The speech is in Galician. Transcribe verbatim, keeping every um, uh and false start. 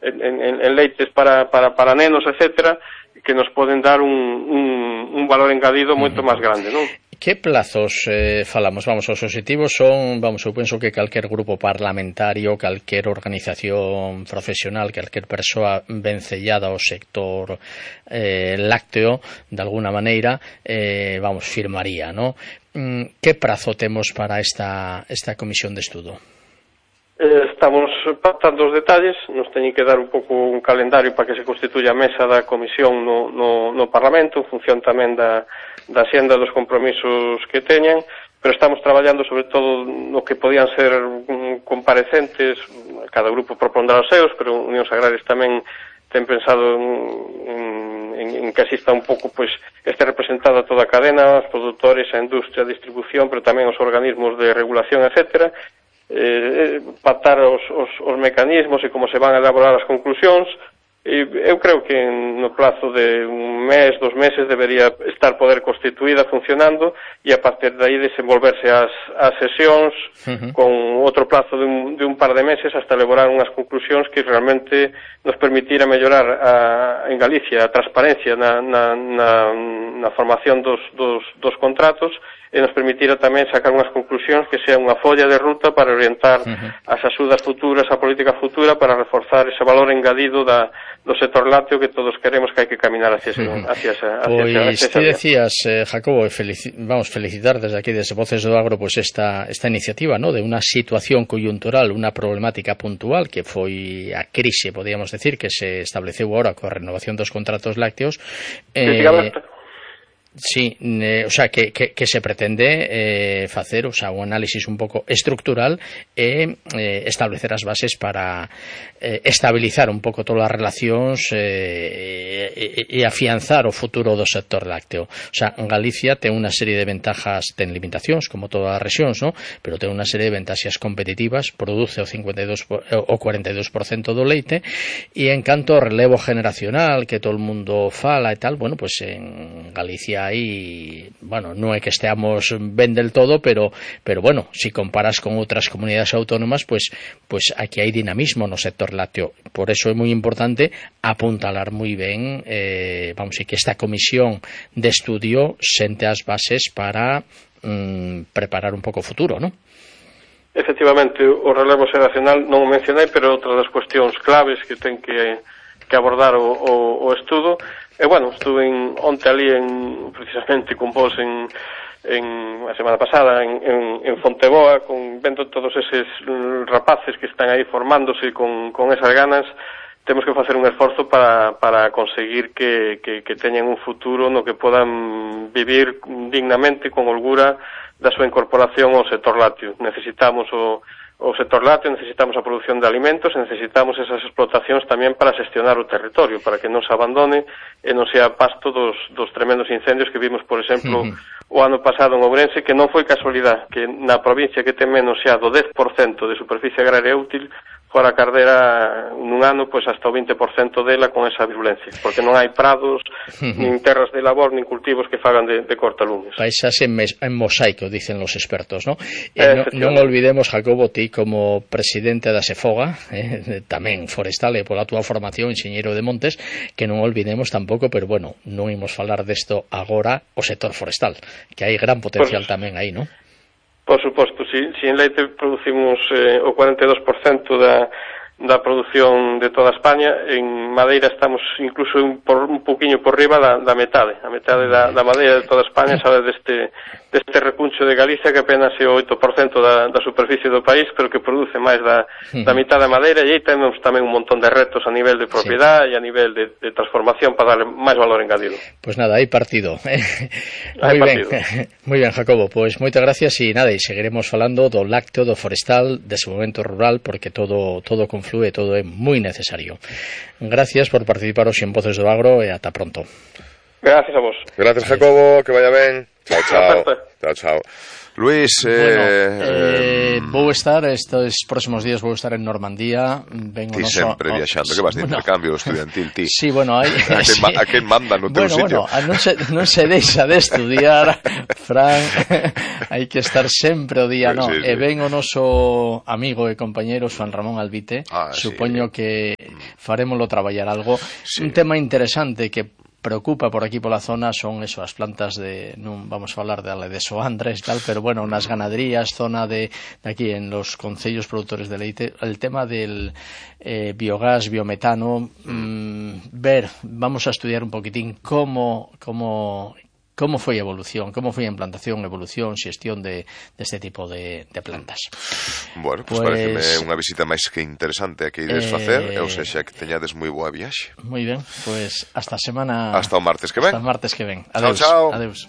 en, en, en leites para, para, para nenos, etcétera, que nos poden dar un, un, un valor engadido moito máis grande, non? Que plazos eh, falamos? Vamos, os obxectivos son, vamos, eu penso que calquer grupo parlamentario, calquer organización profesional, calquer persoa vencellada ao sector eh, lácteo, de alguna maneira, eh, vamos, firmaría, ¿no? Que prazo temos para esta, esta comisión de estudo? Eh, estamos pactando os detalles, nos teñen que dar un pouco un calendario para que se constituya a mesa da comisión no, no, no Parlamento, en función tamén da, da xenda dos compromisos que teñan, pero estamos traballando sobre todo no que podían ser um, comparecentes, cada grupo propondrá os seus, pero Unións Agrarias tamén ten pensado en, en, en que asista un pouco, pois, este representada toda a cadena, os produtores, a industria, a distribución, pero tamén os organismos de regulación, etcétera, eh, pactar os, os, os mecanismos e como se van a elaborar as conclusións. E eu creo que no plazo de un mes, dos meses debería estar poder constituída, funcionando, e a partir de aí desenvolverse as, as sesións uh-huh. con outro plazo de un, de un par de meses hasta elaborar unhas conclusións que realmente nos permitira mellorar a, en Galicia a transparencia na, na, na, na formación dos, dos, dos contratos, e nos permitira tamén sacar unhas conclusións que sea unha folla de ruta para orientar uh-huh. as axudas futuras, a política futura, para reforzar ese valor engadido da, do sector lácteo que todos queremos que hai que caminar hacia ese, uh-huh. hacia esa, hacia pois, esa, hacia ti decías, eh, Jacobo, felici vamos, felicitar desde aquí, desde Voces do Agro, pues esta, esta iniciativa, ¿no?, de unha situación coyuntural, unha problemática puntual que foi a crise, podíamos decir, que se estableceu agora coa renovación dos contratos lácteos. Eh, Sí, eh, o sea, que, que, que se pretende eh, facer, o sea, un análisis un pouco estructural e eh, establecer as bases para eh, estabilizar un pouco todas as relacións eh, e, e afianzar o futuro do sector lácteo. O sea, Galicia ten unha serie de ventajas, ten limitacións, como todas as rexións, ¿no?, pero ten unha serie de ventaxas competitivas, produce o cincuenta e dos o cuarenta e dos por cento do leite, e en canto ao relevo generacional que todo o mundo fala e tal, bueno, pues en Galicia aí, bueno, non é que esteamos ben del todo, pero pero bueno, si comparas con outras comunidades autónomas, pues pues aquí hai dinamismo no sector lácteo. Por eso é moi importante apuntalar moi ben, eh, vamos, e que esta comisión de estudio sente as bases para mm, preparar un pouco o futuro, ¿no? Efectivamente, o relevo xeracional non o mencionei, pero outra das cuestións claves que ten que, que abordar o, o, o estudo. E, bueno, estuve en, onte ali, en, precisamente con vos en, en a semana pasada en, en, en Fonteboa, con, vendo todos eses rapaces que están aí formándose con, con esas ganas. Temos que facer un esforzo para, para conseguir que, que, que teñan un futuro no que podan vivir dignamente, con holgura, da súa incorporación ao sector lácteo. Necesitamos o o sector lácteo, necesitamos a produción de alimentos, e necesitamos esas explotacións tamén para xestionar o territorio, para que non se abandone e non sea pasto dos, dos tremendos incendios que vimos, por exemplo, uh-huh. o ano pasado en Ourense, que non foi casualidade que na provincia que ten menos xa do dez por cento de superficie agraria útil fora a Cardera nun ano, pois hasta o vinte por cento dela con esa virulencia, porque non hai prados, uh-huh. nin terras de labor, nin cultivos que fagan de, de cortalumes. Paisas en, en mosaico, dicen los expertos, ¿no? Eh, non no olvidemos, Jacobo, ti como presidente da Sefoga, eh, tamén forestal e pola túa formación, enxeñeiro de montes, que non olvidemos tampouco, pero bueno, non imos falar desto agora, o sector forestal, que hai gran potencial pues, tamén aí, ¿no? Por suposto, si, si en leite producimos eh, o cuarenta e dos por cento da, da produción de toda España, en madeira estamos incluso un, por, un poquinho por riba da, da metade, a metade da, da madeira de toda España sabe deste, deste recuncho de Galicia, que apenas é o oito por cento da, da superficie do país, pero que produce máis da, da mitad da madeira, e aí temos tamén un montón de retos a nivel de propiedade, sí, e a nivel de, de transformación para darle máis valor engadido. Pues nada, hai partido. Hai moi partido. Ben, moi ben, Jacobo, pois moitas gracias, e nada, e seguiremos falando do lácteo, do forestal, desenvolvemento rural, porque todo todo conflúe, todo é moi necesario. Gracias por participar hoxe en Voces do Agro e ata pronto. Gracias a vos. Gracias, Jacobo, que vaya ben. Chao, chao. Chao, chao. Luís, eh, bueno, eh, vou estar estes próximos días vou estar en Normandía. Vengo ti noso, sempre viaxando, que vas de bueno, intercambio estudiantil, ti. Sí, bueno, hai a, quen, sí. a quen manda no teu bueno, sitio. Bueno, non se, non se deixa de estudiar, Fran, hai que estar sempre o día, no. Sí, sí. E ven o noso amigo e compañeiro Juan Ramón Albite, ah, supoño sí. que farémolo traballar algo. Sí. Un tema interesante que preocupa por aquí pola zona son eso, as plantas de, non vamos a falar de, de soandras e tal, pero bueno, nas ganaderías, zona de, de aquí en los concellos productores de leite, el tema del eh, biogás, biometano, mmm, ver, vamos a estudiar un poquitín cómo, cómo como foi a evolución, como foi a implantación, evolución, xestión de, de este tipo de, de plantas. Bueno, pues, pues pareceme unha visita máis que interesante a que ides eh, facer, e ou sexa que teñades moi boa viaxe. Moi ben, pues hasta a semana... Hasta o martes que ven. Hasta o martes que ven. Adeus. Chao, chao. Adeus.